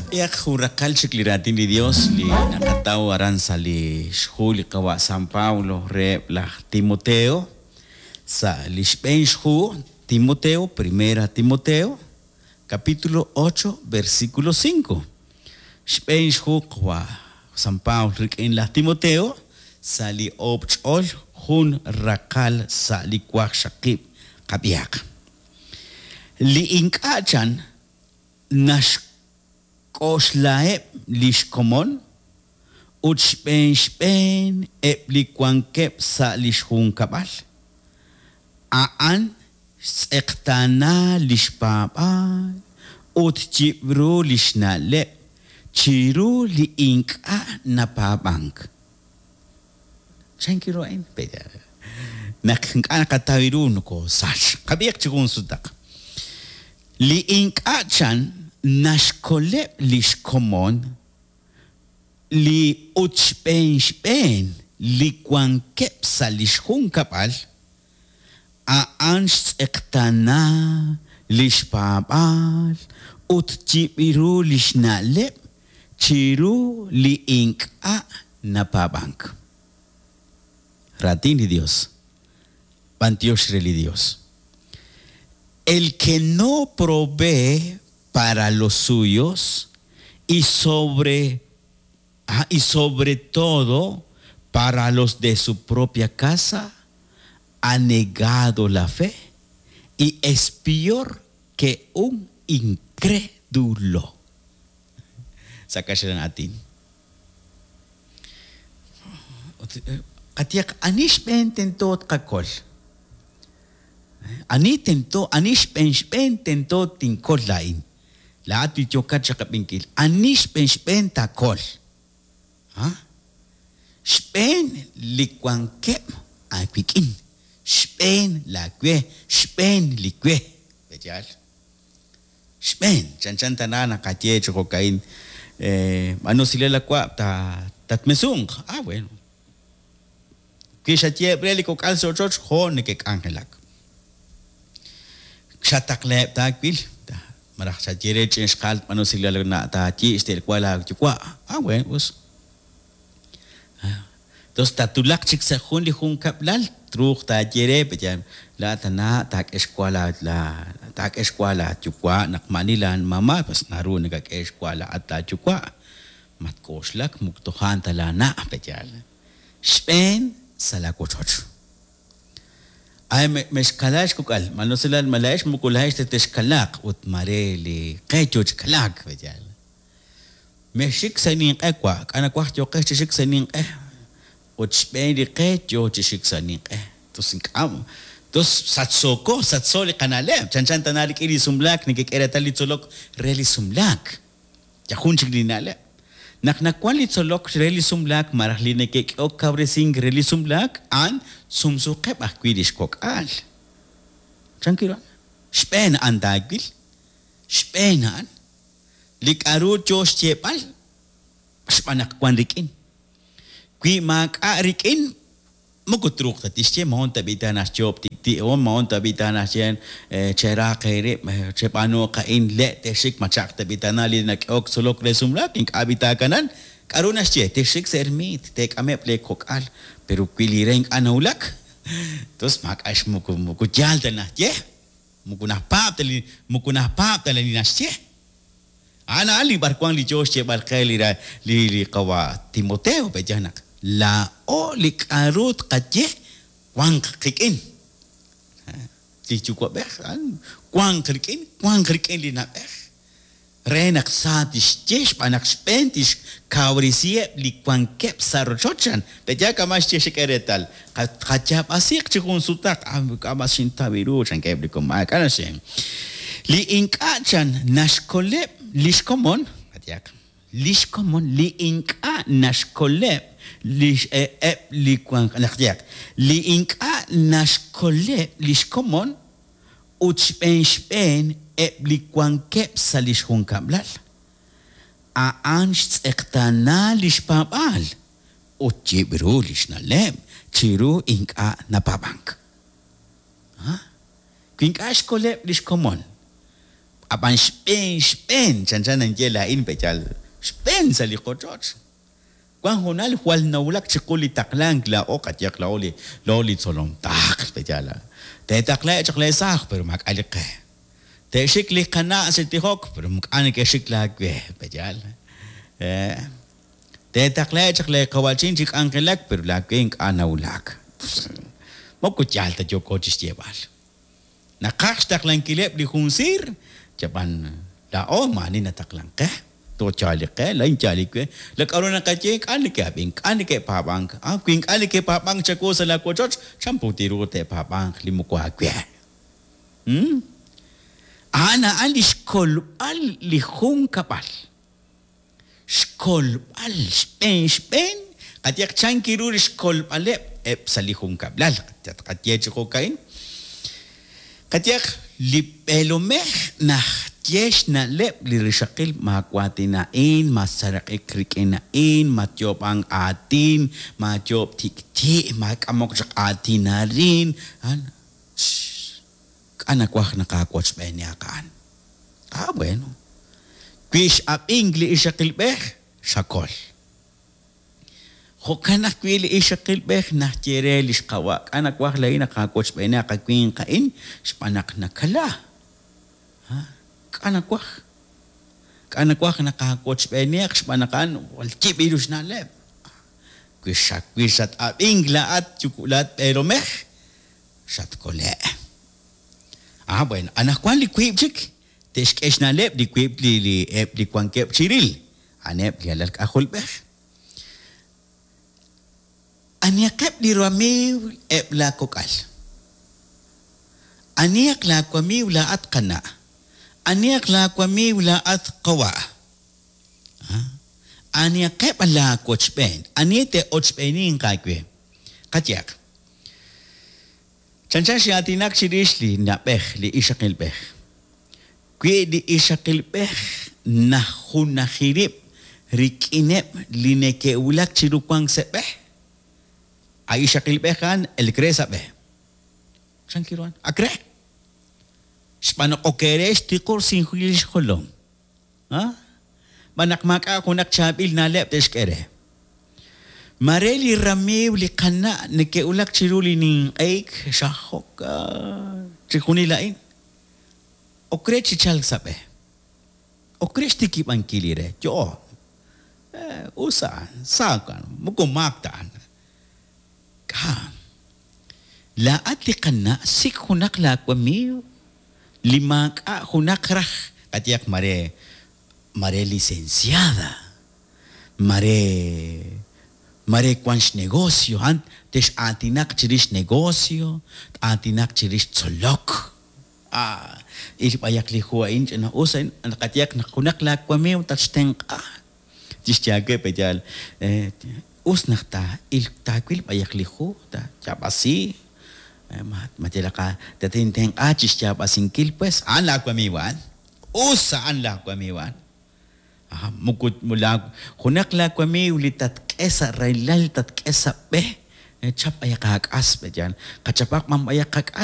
Qab'ihaq jun raqal chik li Raatin li Yos li naqataw aran sa' li xhu li Qawa' San Pablo reheb' laj Timoteo, sa' li xb'een xhu Timoteo, Primera Timoteo, capítulo ocho, versículo cinco. Xb'een xhu Qawa' San Pablo rik'in laj Timoteo sa' li oob' ch'ol jun raqal sa' li waqxaqib' qab'ihaq. Li ink'a' chan Naxk'oxlaheb' li xkomon ut xb'een xb'een eb' li wankeb' sa' li xjunkab'al. A'an xtz'eqtaana li xpaab'aal ut yib'ru li xna'leb' chiru li ink'a' napaab'ank. Chank ru a'in? Naq ink'a' naqataw ru nokoosach. Qab'ihaq chi jun sutaq. Li ink'a' chan naxkoleb' li xkomon li ut xb'een xb'een li wankeb' sa' li xjunkab'al, a'an xtz'eqtaana li xpaab'aal ut yib'ru li xna'leb' chiru li ink'a' napaab'ank. Raatin li Dios. B'antiox re li Dios. El que no provee para los suyos y sobre y sobre todo para los de su propia casa, ha negado la fe y es peor que un incrédulo. Sa' kaxlan aatin. Ut qayehaq ani xb'een tento tqakol? Ani tento, ani xb'een xb'een tento tinkol laa'in? Laa'at li yookat chiqab'inkil, ani xb'een xb'een taakol? Ha? Xb'een li wankeb' aawik'in, xb'een laawe, xb'een li we. Pe'yaal? Xb'een, chanchan tana naqaye chi jo'ka'in, B'aanu usilal la wa' tatmesunq. Ah, bueno. Wi xayeheb' re li kok'al sa' ochoch, jo' neke'k'anjelak. Xataqlaheb' taawil, malaj xaye re ch'ina xqaal b'aanu usilal la taayi' xte'lwa laayuwa'. Ah, bueno, us. Tos tatwulaq chik sa' jun li junkab'lal, truuq taaye re, pe'yaal, laa'at tana taak'e xwa laa, taak'e xwa laayuwa' naq maa'ani laamama', pues naru nakak'e xwa laa'at laayuwa'. Matk'oxlak moko toja' ta laana', pe'yaal. Xb'een sa' laawochoch. Ay, mexkalaak xkok'al, ma usilal, ma laa'ex moko laa'ex ta texkalaaq ut maare li qe yo chi kalaak, pe'yaal. Mexxik sa' ninq'e wa', k'a' nawaj yooqex chi xik sa' ninq'e? Ut xb'een li qe yoo chi xik sa' ninq'e. Tus ink'a' tus sachsooko, sachso li qana'leb', chanchan tana rik'in li sumlaak nekek'e reetal li tzolok re li sumlaak. Yal jun chik li na'leb'. Naq nawan li tzolok re li sumlaak malaj li neke'k'ehok kawresink re li sumlaak, a'an sumsuuqeb' ajwi' lix kok'al. Chan ru a'an? Xb'een a'an taawil. Xb'een a'an. Li k'a'ru yoo xyeeb'al xb'aan naq wan rik'in. Wi maak'a' rik'in, moko truuq ta tixye, moqon tab'i' ta naxyoob' tik'ti' o moqon tab'i' ta naxye cheraaq eerib', cheb'aanuuq a'in, le' texxik, ma cha'aq tab'i' tana li nak'ehok tzolok re sumlaak, ink'a' b'i taakanan. K'a'ru naxye? Texxik sa' ermiit, teek'ameb' lee kok'al, pero wi li re ink'a' nawulak, tos maak'a' xmoko moko yaal ta naxye. Moko najpaab' ta li moko najpaab' ta li naxye. A'an a'an li b'arwan li yoo xyeeb'al qe li li li qawa' Timoteo, pe'yaal naq laa'o li k'a'ru tqaye wanq qik'in. Li yuwa'b'ej a'an wanq rik'in, wanq rik'in li na'b'ej. Re naq sa tixye xb'aan naq xb'een tixkawresiheb' li wankeb' sa' rochoch, chan. Pe'yaal kama' xye xek'e reetal? Qayaab'asiiq chi jun sutaq, Ah, k'a' mas xintaw ru, chankeb' li komon. Maak'a' naxye. Li ink'a' chan naxkoleb' li xkomon, qayehaq, li xkomon li ink'a' naxkoleb' li eb' li wank, qayehaq, li ink'a' naxkoleb' li xkomon, ut xb'een xb'een eb' li wankeb' sa' li xjunkab'lal. A'an xtz'eqtaana li xpaab'aal ut yib' ru li xna'leb' chiru ink'a' napaab'ank. A Wi ink'a' xkoleb' li xkomon. Ab'an xb'een xb'een, chanchan ninye laa'in pe'yaal, xb'een sa' li qochoch. Wank hoonal jwal nawulak chiqu li taqlank laa'o, qayehaq laa'o li laa'o li tzolom taql, pe'yaal. Teetaqlaheb' chaq leesaaj, pero maak'a' li qe. Te'xik li qana' chi tijok, pero ink'a' neke'xik laawe, pe'yaal. Teetaqlaheb' chaq leeqawa'chin chi k'anjelak, pero laawe ink'a' nawulak. Moko yaal ta yooko chi xyeeb'al. Naqaj xtaqlankileb' li jun siir, yab'an laa'o maa'ani nataqlank qe. Toj yaal li qe, laa'in yaal li we. La k'a'ru naqaye ink'a' neke'ab'ink, ink'a' neke'paab'ank. Ah, wi ink'a' neke'paab'ank chawu sa' laa wochoch, chan put ru te'paab'anq li moko aawe? Hmm? A'an a'an li xkolb'al li junkab'al. Xkolb'al xb'een xb'een, qayehaq chan ru li xkolb'aleb' eb' sa' li junkab'lal, tqaye chi jo'ka'in. Qayehaq li b'eelomej naxye xna'leb' li rixaqil maawaatin a'in, matseeraq'ik rik'in a'in, matyoob'ank aatin, maayoob' tik'ti', maak'amok chaq aatin arin, K'a' nawaj naq aawochb'eenihaq a'an? Ah, bueno. Wi x'ab'ink li ixaqilb'ej, xakol. Jo'kan ajwi' li ixaqilb'ej naxye re li xqawa', K'a' nawaj laa'in naq aawochb'eenihaq a winq a'in xb'aan naq nakala. K'a' nawaj? K'a' nawaj naq aawochb'eenihaq xb'aan naq a'an jwal yib' ru xna'leb'? Wi wi xat-ab'ink laa'at laa'at b'eelomej, xatkole'. Ah, bueno, anaqwan li wiib' chik te'xk'e xna'leb' li wiib' li li eb' li wankeb' chiril, a'aneb' li alal k'ajolb'ej. Anihaqeb' li ramiiw eb' laa kok'al? Anihaq laa wamiiw laa'at qana'? Anihaq laa wamiiw laa'at qawa'? Ah, anihaqeb' laa wochb'een? Ani te'ochb'eeninq aawe? Qayehaq. Chanchan xin'aatinak chirix li na'b'ej, li ixaqilb'ej. Wi li ixaqilb'ej naxjunaji rib' rik'ineb' li neke'wulak chiru wank sa' b'e, a ixaqilb'ej a'an elk re sa' b'e. Chan ru a'an? Ak re. Xb'aan naq ok re xtiqursinkil li xjolom. Xb'aan naq maak'a' junaq chaab'il na'leb' te'xk'e re. Maare li ramiiw li qana' neke'wulak chiru li ninq'ehik xajok chixjunil a'in. Ok re chi chalk sa' b'e. Ok re xtikib'ankil li re. Yo'o. Us a'an. Sa a'an. Moko maak ta a'an. K'a'. Laa'at li qana' sik' junaq laawamiiw li maak'a' junaq raj, qayehaq mare mare licenciada, mare mare wan xnegocio, a'an tex'aatinaq chirix negocio, t-aatinaq chirix tzolok. Ah, il b'ayaq li hu a'in ch'ina-us a'in, qayehaq naq junaq laawamiiw tatxtenq'a. Chixye aawe pe'yaal, Us naq taa'il taawil b'ayaq li hu, taayaab'asi, ma yalaq tatintenq'a chi xyaab'asinkil pues, a'an laawamiiw a'an. Us a'an laawamiiw a'an. Moko junaq laawamiiw li tatk'e sa' rahilal, tatk'e sa' b'e, chap b'ayaq aak'as pe'yaal. Qachapaq b'an b'ayaq qak'as.